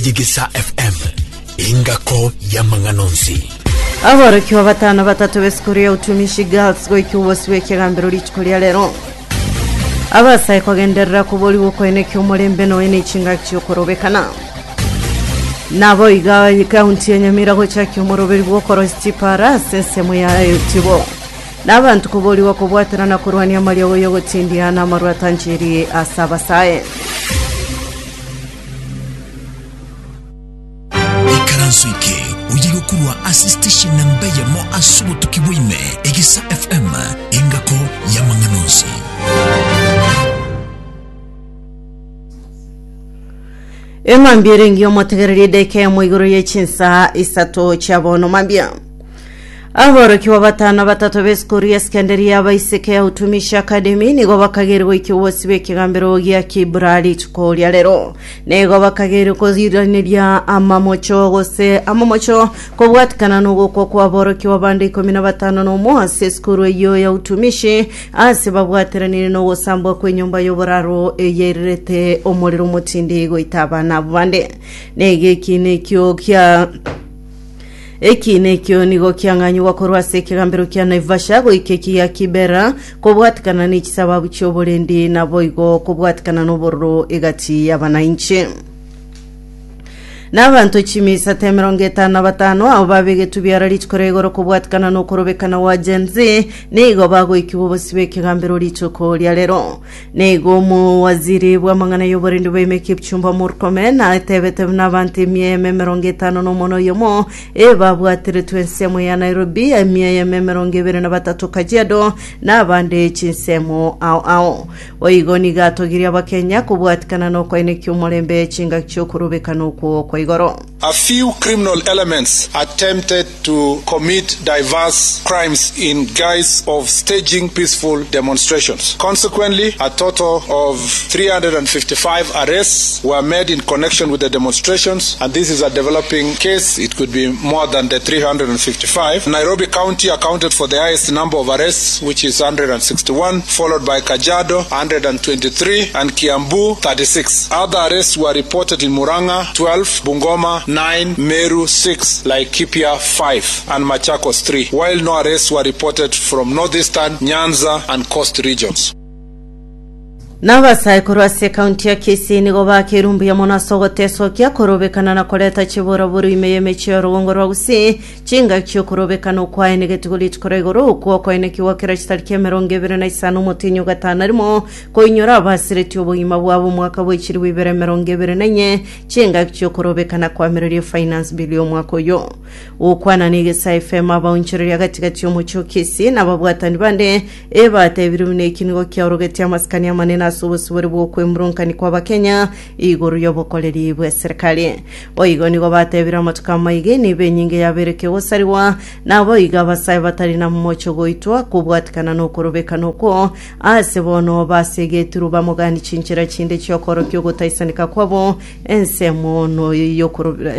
Yegesa FM, engako y'amang'ana onsi. Aborokigwa batano batato b'esukuru ya Utumishi Girls goika obosi bw'ekegambero rituko ria rero. Abasae kogenderera koborigwa okoenekia omorembe noe ne chingaki chi'okorobekana. Nabo iga ekaunti ya Nyamira gochakia omoroberi bw'okorosia chipara ase ensemo ya Etibo. Na abanto koborigwa kobwaterana korwania amariogo y'ogotindia na amarwa atanchiri ase abasae. Ikaranso eke oye gokorwa ase station namba eyemo ase obotuki bwa ime, Egesa FM, engako y'amang'ana onsi. Emambia ere engiya omotegererie edaika eyemo igoro ye chinsaa isato chia bono mambia. Aborokigwa batano batato b'esukuru ya sekendari y'abaiseke ya Utumishi Academy nigo bakageire goikia obosi bw'ekegambero gia Kibra rituko ria rero. Nigo bakageire koiraneria amamocho gose amamocho kobwatikana nogokwa kw'aborokigwa bande ikomi na batano nomo ase esukuru eyio ya Utumishi ase babwateranire nogosambwa kw'enyomba y'oboraro eyeirerete omorero omotindi goita abana abwo bande. Nigo eki nekio kia Ekiina ekio nigo kiang'anyigwa korwa ase ekegambero kia Naivasha goika eki gia Kibera, kobwatikana ne chisababu chi'oborendi naboigo kobwatikana nobororo egati y'abanainchi. Na abanto chimisata emerongo etano na batano abo babegetwe biara rituko ria igoro kobwatikana nokorobekana gwa Gen Z nigo bagoikigwa obosio bw'ekegambero rituko ria rero. Nigo omowaziri bw'amang'ana y'oborendi bwa Kipchumba Murkomen atebete buna abanto emia eyemo emerongo etano na omono oyomo ebabwatiretwe ensemo ya Nairobi, emia eyemo emerongo ebere na batato Kajiado, na abande chinsemo ao ao. Boigo nigo atogirie Abakenya kobwatikana nokoenekia omorembe chingaki chi'okorobekana okwo kwa igoro. A few criminal elements attempted to commit diverse crimes in guise of staging peaceful demonstrations. Consequently, a total of 355 arrests were made in connection with the demonstrations, and this is a developing case. It could be more than the 355. Nairobi County accounted for the highest number of arrests, which is 161, followed by Kajiado, 123, and Kiambu, 36. Other arrests were reported in Murang'a, 12, Bungoma, 9, Meru, 6, Laikipia, 5, and Machakos, 3, while no arrests were reported from Northeastern, Nyanza, and Coast regions. Nabasae korwa ase ekaunti ya Kisii nigo bakeirwe mbuya mono ase ogotesokia korobekana na koreta chiboraboro ime y'emechie y'orogongo rwa Gusii chingaki chi'okorobekana okwaenegetigwe rituko ria igoro okwo okoenekigwa kera chitariki emerongo ebere na isano omotienyi o gatano na rimo koinyora abasiretie obogima bwabo omwaka bw'echilifu ibere emerongo ebere na inye Chingaki chi'okorobekana kwamererie Finance Bill y'omwaka oyo. Gokwana n'Egesae FM abaonchoreria gati gati y'omochie o Kisii na ababwatani bande ebatebire buna eki nigo kiaorogetie amasikani amanene ase obosibore bw'okwemurungani kw'Abakenya igoro y'obokoreri bw'eserekari. Boigo nigo batebire amatuko amaiga enibo enyinge yabeire kegosarigwa naboigo abasae batari na momocho goitwa kobwatikana nokorobekana okwo Aase bono basegetirwe bamogani chinchera chinde chi'okorokia ogotaisaneka kwabo, ensemo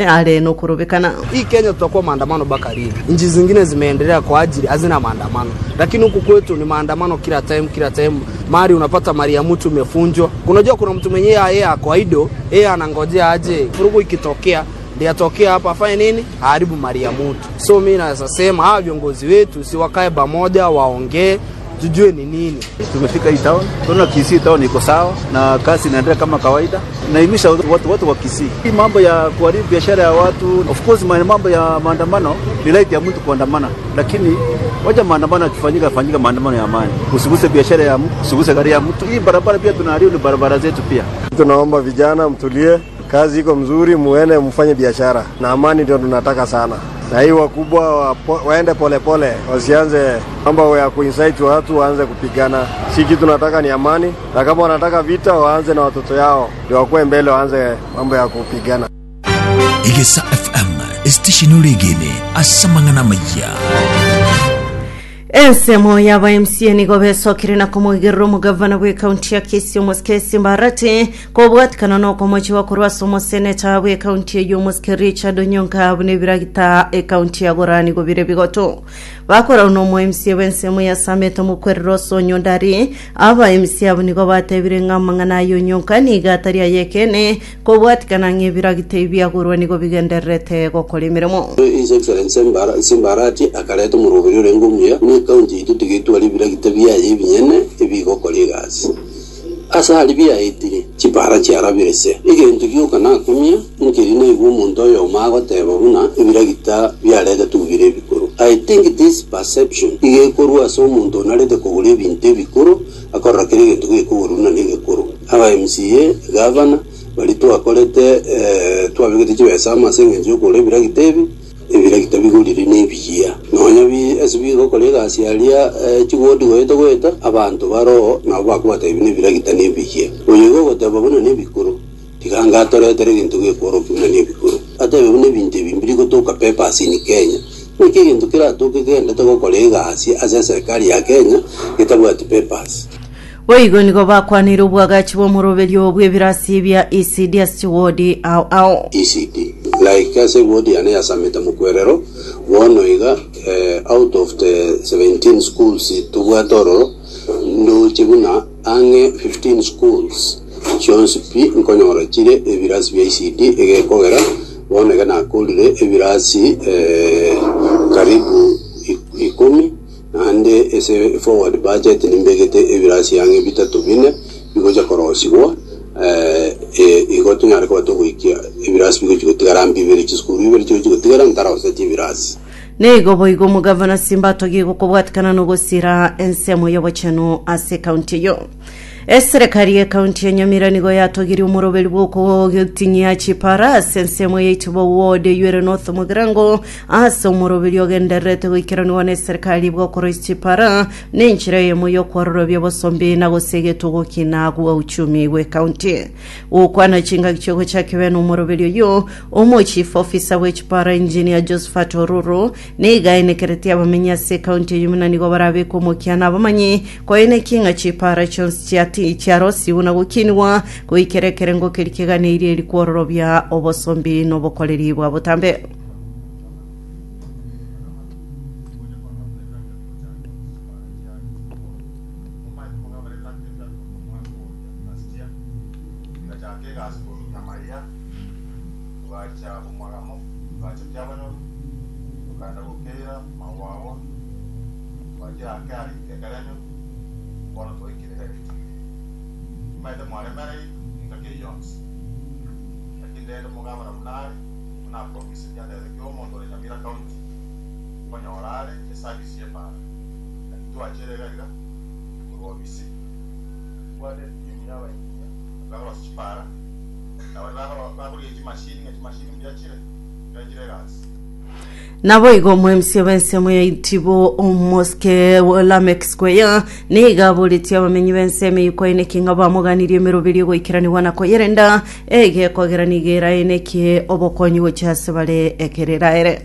are nokorobekana. Hii Kenya tutakuwa maandamano mpaka lini? Nchi zingine zimeendelea kwa ajili hazina maandamano, lakini huku kwetu ni maandamano kila time, kila time. Mali unapata mali ya mtu imefunjwa. Unajua kuna mtu mwenyewe yeye ako idle, yeye anangojea aje vurugu ikitokea ndiye atokea hapa afanye nini? Aharibu mali ya mtu. So mimi naweza sema hawa viongozi wetu si wakae pamoja, waongee tujue ni nini. Tumefika hii town, tunaona Kisii town iko sawa na kazi inaendelea kama kawaida. Naimisha watu watu wa Kisii, hii mambo ya kuharibu biashara ya watu, of course mambo ya maandamano ni right ya mtu kuandamana, lakini wacha maandamano yakifanyika, fanyika maandamano ya amani, usiguse biashara ya mtu, usiguse gari ya mtu. Hii barabara pia tunaharibu, ni barabara zetu pia. Tunaomba vijana mtulie, kazi iko mzuri, muende mfanye biashara na amani, ndio tunataka sana na hii wakubwa wapo, waende polepole pole, wasianze mambo ya kuincite watu waanze kupigana. Si kitu tunataka ni amani, na kama wanataka vita waanze na watoto yao ndio wakuwe mbele, waanze mambo ya kupigana. Egesa FM, esitesheni oregene ase amang'ana amayia. Ensemo y'aba MCA nigo besokire na komoigerera omogavana bw'ekaunti ya Kisii omosike Simba Arati kobwatikana nokomochigwa korwa ase omoseneta bw'ekaunti eyio omosike Richard Onyonka buna ebiragita ekaunti ya Gora nigo bire bigoto. Bakorau nomo MCA bw'ensemo ya Sameta omokwerero ase Onyondari aba MCA abwo nigo batebire ng'a amang'ana aya Onyonka nigo atari ay'ekeene Kobwatikana ng'a ebiragita ebi biagorwa nigo bigendererete gokora emeremo. His Excellency Simba Arati akareta omoroberi orenge omuya buna ecounty yaito tigetwara ebiragita biaye ebinyene ebigokora egasi. Ase aria biaetire, chipara chiarabire se. Egento gioka nakumia nkeri naigwe omonto oyomo agoteba buna ebiragita biaretetwe bire ebikoro. I think this perception iga ekorwa ase omonto onarete kogora ebinto ebikoro akorora kera egento gekogorwa buna negekoro. Aba MCA, gavana, baria twakorete twabegete chibesa amo ase engencho y'okogora ebiragita ebi, ebiragita bigorire nebiya. Nonya bi ase bigokora egasi aria chiwodi goeta goeta, abanto baroo nabo bakobatebia buna ebiragita nebiya. Oyo iga ogoteba buna nebikoro, tiga anga atoretere egento gekworokia buna nebikoro. Atebe buna ebinto ebi mbiri gotoka papers in Kenya. Naki egento keratoke kegenderete gokora egasi ase eserikari ya Kenya getabwati papers? Boigo nigo bakwanire obwagachi bw'omoroberio bw'ebirasi bia ECD ase chiwodi ao ao. ECD. Like ase eward yane ya Sameta Mokwerero, bono iga out of the 17 schools tobwate ororo, ndoche buna ang'e 15 schools chionsi pi nkonyora chire ebirasi bia ECD egekogera bono iga nakorire ebirasi karibu ikomi. Naende ase forward budget nimbegete ebirasi ang'e bitato bine bigocha korosigwa, igo tonyare koba togoikia ebirasi bigochi gotigara mbibere, chisukuru ibere chigochi gotigara ntaroseti ebirasi. Nigo boigo omogavana Simba atogie gokobwatikana nogosira ensemo y'obochenu ase ekaunti eyio. Eserekari y'ekaunti ya Nyamira nigo yatogirie omoroberi bw'okotinyia chipara ase ensemo ya Itibo Ward eyio ere North Mugirango ase omoroberi ogendererete goikeranigwa n'eserekari bw'okoroisia chipara nenchera eyemo y'okwororobia obosombi na gose egetugo kina gwa uchumi bw'ekaunti. Gokwana chingaki chiogochaka bene omoroberi oyio, omochief officer bw'echipara Engineer Josephat Oruru Nigo aenekeretie abamenyi ase ekaunti eyio buna nigo barabekwe omokia na abamanyi, koenekia ng'a chipaara chionsi chiati chiarosigwe na gokinigwa goikera ekerengo keria keganeirie eri kwororobia obosombi na obokoreri bwa botambe. Tokagenda gokeira magwagwa, twachia ake aria ekerenyo, bono twaikire iga egetii. Timanyete mwaremereiri engaki eyio yonsi, lakini rende omogabana buna are, buna apromiseti atebete kera omonto ore Nyamira County nkonyora are eservice y'epaara. Naki twachire iga iga korwa obisi, tobwate etimu y'abaengineer bakorosia chipaara, na baria bakorigia chimashini ng'a chimashini mbuya chire, mbuya chire egasi. Naboigo omwemisia bw'ensemo ya Itibo omosike Lameck Square nigo aboretie abamenyi b'ensemo eyio koeneki ng'a bamoganirie emeroberio egoikeranigwa na koyerenda egekogera nigo eraenekie obokonyi gochia ase bare ekero eraere.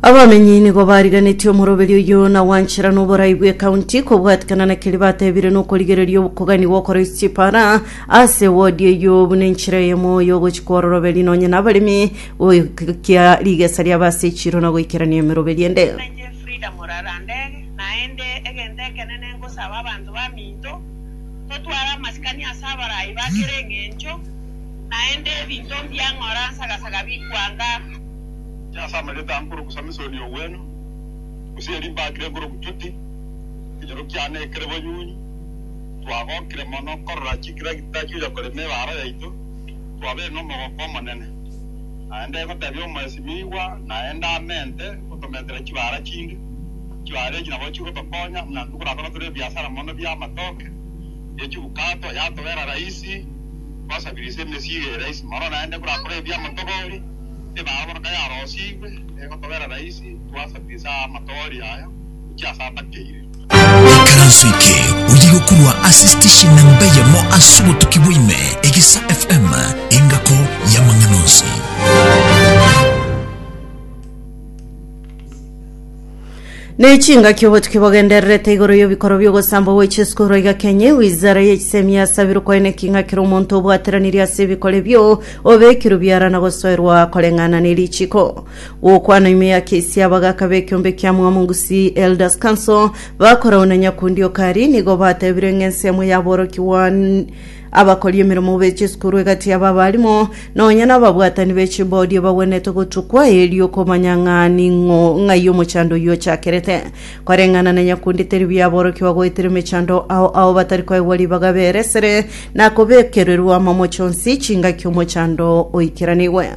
Abamenyi nigo bariganetie omoroberi oyio na gwanchera noborai bw'ekaunti kobwatikana na keria batebire nokorigereria okoganigwa okoroisia chipara ase ewodi eyio buna enchera eyemo yogochi kwororoberi nonye nabaremi goikia rigesa riabo ase echiro na goikerania emeroberi ende. Nainche Frida Morarandege, naende egento ekenene ngosaba abanto baminto, totware amasikani ase abarai ba kera engencho, naende ebinto mbiang'ora nsagasaga bikwanga. Ase amarieta aa nkorokwa Samisoni Ogweno, gose erio mbakire nkorokwa Juti, ekenyoro kiane ekere bonyunyu. Twagokire mono korora chikiragita chiocha korema ebaara yaito, twabeire nomogoko omonene. Naende ngotebia omoesimigwa, naende amente gotomentera chibaara chinde. Chibaara echi nabo chigotokonya buna intwe korakora tore ebiasara mono bi'amatoke, ye chibukato, yatobera rahisi. Twasabirise emesigo eye rahisi mono, naende korakore ebi'amatobori, ebara bono kayarosigwe, egotobera rahisi, twasabirisa amatobori aya gochia ase atakeire. Ikaranso eke oye gokorwa ase station namba eyemo ase obotuki bwa ime, Egesa FM, engako y'amang'ana onsi. Ne chingaki obotuki bogendererete igoro y'ebikoro bi'ogosambwa gwe chisukuru aiga Kenya, wizara ye chisemi yasabirwe koeneki ng'a kera omonto obwateranirie ase ebikoro ebio obekirwe biara na gosoerwa koreng'ana ne richiko. Gokwana ime ya kesi abagaka b'ekiombe kia Mwamu Gusii Elders Council bakorau na Nyakundi Okari nigo batebire ng'a ensemo yaborokigwa Abakori emeremo be chisukuru egati y'ababarimo, nonya nababwatani be chibodi bagwenerete gotukwa erio komanya ng'a ning'o ng'ai omochando oyio ochakerete. Koreng'ana na nyakundi teri buya aborokigwa goetera emechando ao ao batari koegwa ribaga beresere na kobekererwa amamocho onsi chingaki omochando oikeranigwe.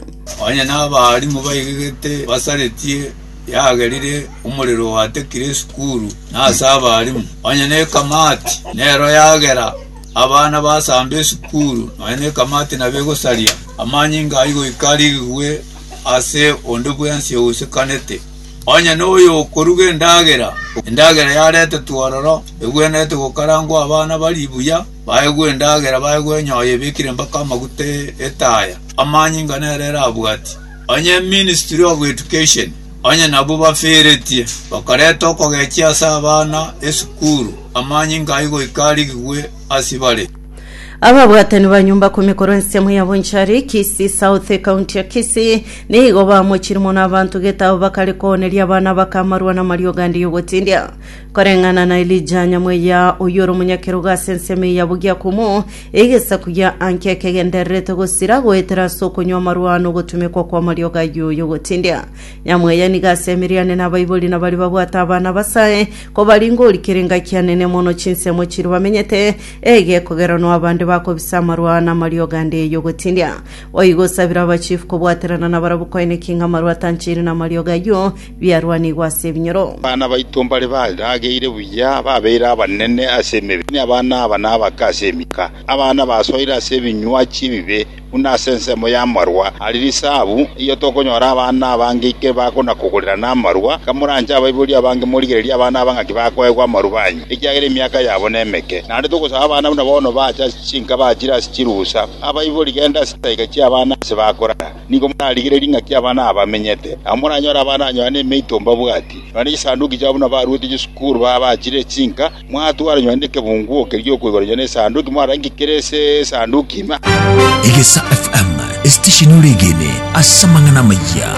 Onye nabarimu baigegete basaretie yagerire omorero oatekire esukuru na ase abarimu, onye nekamati nero yagera Abana basamba esukuru, nonya nekamati nabo egosaria. Amanyinga ayio goika arigigwe ase onde bwensi ousekanete. Onye noyokoruga endagera, endagera yaretetwe ororo, egwenerete gokarangwa abana barie buya, baegwe endagera, baegwe enyoyo ebekire mpaka amaguta etaya. Amanyinga nere erabwatie. Onye Ministry of Education, onye nabwo baferetie, bakareta okogechia ase abana esukuru, amanyinga ayio goika arigigwe ase bare. Ababwatani ba nyumba kumi korwa ensemo ya Bonchari, Kisii South, ekaunti ya Kisii, nigo bamochire mono abanto gete abo bakare kooneria abana bakamarwa namariogo ande y'ogotindia. Koreng'ana na Elijah Nyamweya, oyio ore omonyakerogo ase ensemo eye ya Bogiakumu, Egesaku gia Anke kegendererete gosira goetera ase okonywa amarwa na ogotumekwa kw'amariogo ayio y'ogotindia. Nyamweya nigo asemirie ane nabaibori na baria babwate abana abasae, kobaringa orikire engaki anene mono chinsemo chiria bamenyete, egekogera noa abande bakobisa amarwa na amariogo ande y'ogotindia. Boigo osabire abachief kobwaterana nabarabwo koenekia ng'a amarwa atancheire na amariogo ayio biarwanigwe ase ebinyoro. Abana baito mbare barageire buya, babeire abanene ase emebere, abana aba nabake ase emiaka. Abana basoire ase ebinywachi ebibe, buna ase ensemo y'amarwa aria risabu, eyio tokonyora abana abange ike bakona-kogorerana amarwa. Kamoranche abaibori abange morigererie abana aba ng'aki bakoegwa amarwa banywe, ekiagera emiaka yabo nemeke. Naende togosaba abana buna bono bache ase chinka bachire ase chirusa. Abaibori genda ase chidaika chi'abana ase bakorara. Nigo morarigererie ng'aki abana aba bamenyete. Nabo moranyore abana nonya nemeito mbabwati, nonya ne chisanduki chiabo buna baruete chisukuru babachire chinka, mwatwara nonya nekebunguo keria gi'okoigora nonya nesanduki, mwarora inki kere ase esanduki ime. Egesa FM, esitesheni oregene ase amang'ana amayia.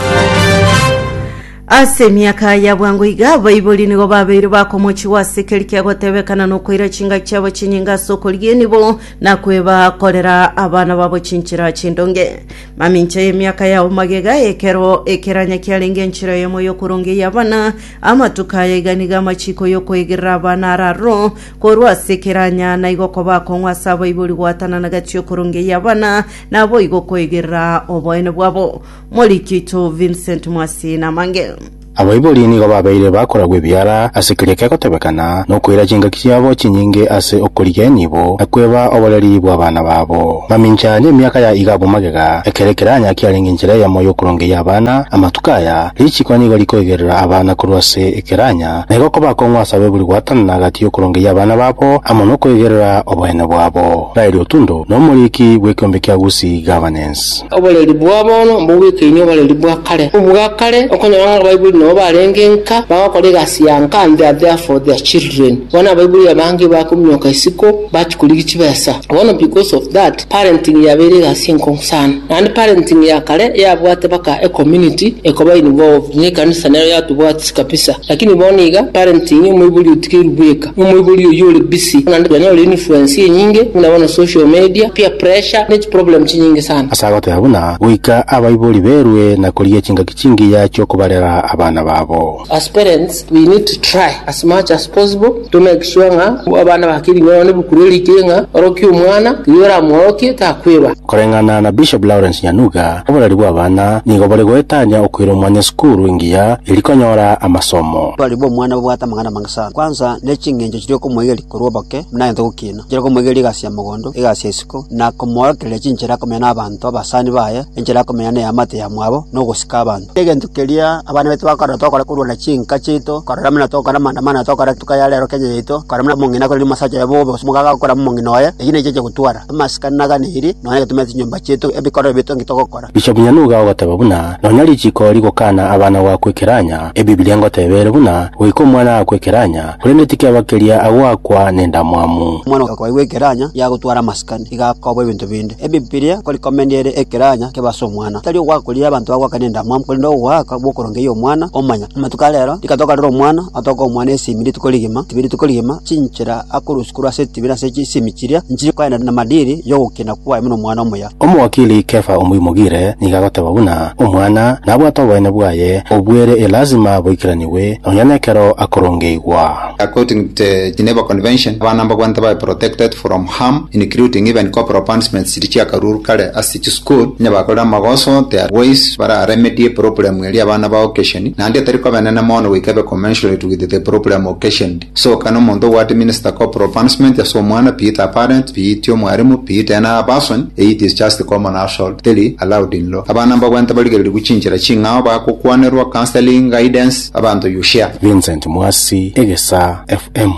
Ase emiaka ya bwango iga, abaibori nigo babeire bakomochigwa ase keri kiagotebekana nokoira chingaki chiabo chinyinge ase okorigia enibo na kwebakorera abana babo chinchera chindonge. Mamincha y'emiaka yabo magega, ekero ekeranya kiarenge enchera eyemo y'okorongeyia abana, amatuko aya iga nigo amachiko y'okoegerera abana araroro korwa ase ekeranya, na igo koba akong'u ase abaibori goatanana gati y'okorongeyia abana, naboigo koegerera oboene bwabo. Moriki oito Vincent Mwasi namange. Abaibori nigo babeire bakoragwa ebiara ase keria kegotebekana nokoira chingaki chiabo chinyinge ase okorigia enibo na kweba oboreri bw'abana babo. Mamincha nemiaka ya iga abwo magega, ekero ekeranya kiarenge enchera eyemo y'okorongeyia abana, amatuko aya, richiko nigo rikoigerera abana korwa ase ekeranya, na igo koba akong'u ase abaibori gwatanana gati y'okorongeyia abana babo amo nokoigerera oboene bwabo. Raeli Otundo nomoriki bw'ekeombe kia Gusii Governance. Oboreri bwa bono mbobwekaine oboreri bwa kare. Obwa kare okonyora ng'a abaibori nabo barenge nka, bagokora egasi ya nka and they are there for their children. Bono abaibori abange bakominyoka isiko bachia korigia chibesa. Bono because of that, parenting yabeire egasi enkong'u sana. Naende parenting ya kare yabwate baka ecommunity ekoba involved, na ekanisa nero yatobwatisi kabisa. Lakini bono iga, parenting omoibori otigeirwe bweka, omoibori oyio ore busy, naende twanyora influence enyinge buna bono social media, peer pressure, ne chiproblem chinyinge sana. Ase agoteba buna, Goika abaibori berue na korigia chingaki chingiya chi'okobarera abana. abana babo. As parents we need to try as much as possible to make sure ng'a abana bakirigwe nonya nebukuru erikire ng'a orokia omwana riria oramworokie takweba. Koreng'ana na Bishop Lawrence Nyanuga, oboreri bw'abana nigo bore goetania okoira omwana esukuru engiya eria konyora amasomo. Oboreri bw'omwana bobwate amang'ana amange sana. Kwanza ne ching'encho chiria okomoigeria korwa oboke buna agente gokina, chiria okomoigeria egasi ya mogondo, egasi ya isiko, na komoorokereria chinchera akomenya n'abanto abasani baye, enchera akomenya neamate yamwabo, na ogosika abanto. Egento keria abana baito bakorora tokora korwa na chinka chiaito, korora buna tokora amaandamano tokora rituko ya rero Kenya yaito, korora buna omong'ina akorire omosacha oye bobe gose omogaka agokora omong'ina oye, eyio nechiche gotwara amasikani naganeiri, nonya egetumete chinyomba chiaito ebikorero biaito nki togokora. Bishop Nyanuga ogoteba buna nonya richiko rigokana abana goakwa ekeranya, Ebibilia ngoteba ere buna goika omwana aakwe ekeranya, korende tikeba keria agoakwa nendamwamu. Omwana okoigwa ekeranya yagotwara amasikani, iga akobua ebinto binde. Ebibilia nkorikomendi ere ekeranya kebe ase omwana, tari ogoaka koria abanto bagoaka nendamwamu, korende ogoaka gw'okorongeyia omwana omanya. Amatuko a rero, rika tokorera omwana, otoke omwana esimi rituko rigima, tibi rituko rigima, chinchera akorusia korwa ase etibi na ase chisimi chiria, nchiri koenda namadiri y'ogokina kwaye buna omwana omuya. Omowakili Kefa Omoimogire nigo agoteba buna omwana nabwate oboene bwaye obwere elasima boikeranigwe nonya nekero akorongeigwa. According to the Geneva Convention, abana mbabwenerete babe protected from harm including even corporal punishments chiria chiakarurwe kare ase chisukuru, onye bakorire amagoso there are ways bara remedie problem eria abana ba occasion naende etari koba enene mono goika ebe commensurate with the problem occasioned. So kane omonto ogwate minister corporal punishment ase omwana be it a parent, be it omwarimu, be it any other person, it is just common assault teri allowed in law. Abana mbabwenerete barigererigwe chinchera ching'ao bagokwanerwa, counselling, guidance, abanto you share. Vincent Mwasi, Egesa FM.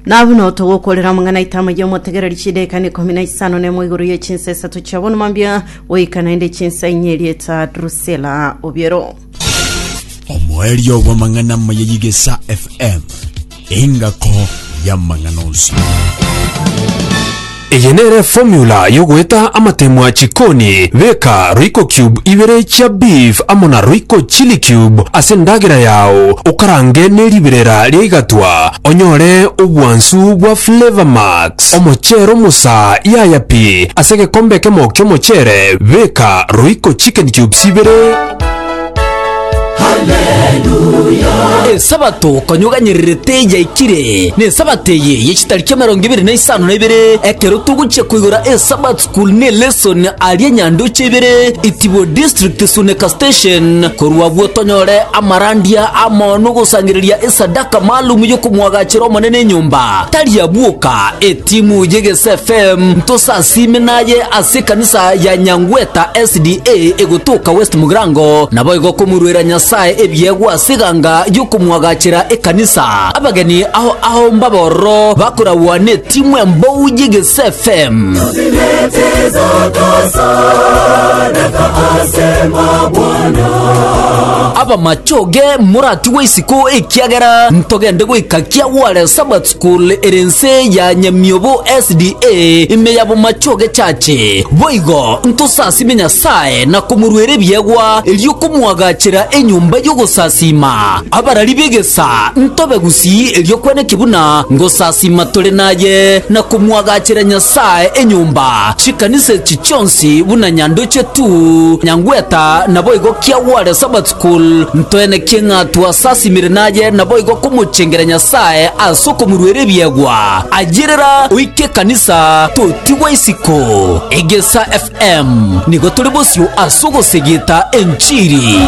Na buna otogokorera amang'ana aito amayia omotegereri chidaeka na ikomi na isano nemo igoro ye chinsa isato chia bono mambia goika naende chinsa inye erieta Drusilla Obiero. Omoerio bw'amang'ana amaya y'Igesa FM, engako y'amang'ana onsi. Eye nere formula yogoeta amatemwa chikoni, Beka Royco cube ibere chia beef amo na Royco chilli cube ase endagera yao, okarange ne riberera ria igatwa, onyore obwansu bwa Flavour Max. Omochere omosa yaya pi, ase egekombe ekemo ki'omochere beka Royco chicken cubes ibere, Esabato konya oganyererete yaikire, na esabato eye ye chitariki emerongo ebere na isano na ibere, ekero togochia koigora Esabat School ne lesson aria Nyandoche ibere, Itibo District Suneka Station, korwa abwo tonyore amarandia amo nogosangereria esadaka maalum yokomwagachera Omonene enyomba. Tari abwoka, etimu y'Egesa FM ntosasime naye ase ekanisa ya Nyangweta SDA egotoka West Mugirango, naboigo komoruera Nyasae ebiegwa ase eganga y'okomwagachera ekanisa. Abageni ao ao mbabe ororo bakoragwa n'etimu embou y'Egesa FM. Abamachoge moratigwe isiko ekiagera ntogende goika Kiagware Sabbath School ere ense ya Nyamiobo SDA ime ya Bomachoge Church. Boigo ntosasime Nyasae na komoruera ebiegwa erio komoagachera enyomba y'ogosasiima. Abarari b'egesa ntobe gusii erio kweneki buna ngosasiima tore naye na komoagachera Nyasae enyomba. Chikanisa echi chionsi buna Nyandoche tu, Nyangweta naboigo Kiagware Sabbath School ntoenekie ng'a twasasimire naye naboigo komochengera Nyasae ase okomoruera ebiegwa. Ayerera oike ekanisa totigwa isiko. Egesa FM nigo tore bosio ase ogosegeta enchiri.